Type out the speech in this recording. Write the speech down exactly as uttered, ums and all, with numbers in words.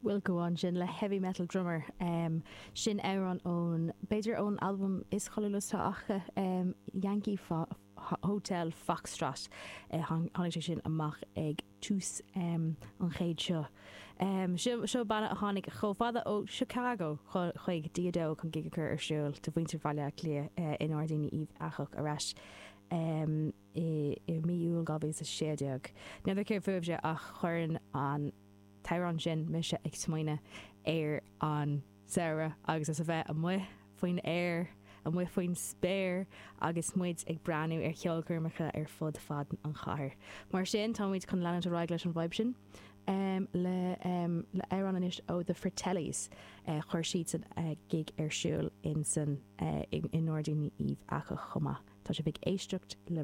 Wilco ansin le heavy metal drummer um, sin amhrán ón b'fhéidir ón albam is cáiliúla acu um, Yankee Fo Hotel Foxtrot uh, tháinig sé sin amach ag tús um, an chéid seo. Um, seo seo banna a tháinig chomh fada ó Chicago chuig D a dó chun gig a chur ar siúl do mhuintir Bhaile Átha Cliath uh, i nGairdíní Uíbh Eachach arís. Um, i, i mí Iúil dhá mhíle sé déag. N'fheadar céard fúibhse ach chuireann an t-amhrán sin mise ag smaoineamh ar an samhradh agus as a bheith amuigh faoin aer, amuigh faoin spéir agus muid ag breathnú ar cheolchoirmeacha ar fud fad an chathair. Mar sin táimid chun leanúint ar aghaidh leis an vibe sin. Um, le um, le amhrán anois ó The Fratellis uh, chuir siad san uh, gig ar siúl in san uh, i nGairdíní Uíbh Eachach chomh maith. Tá sibh ag éisteacht le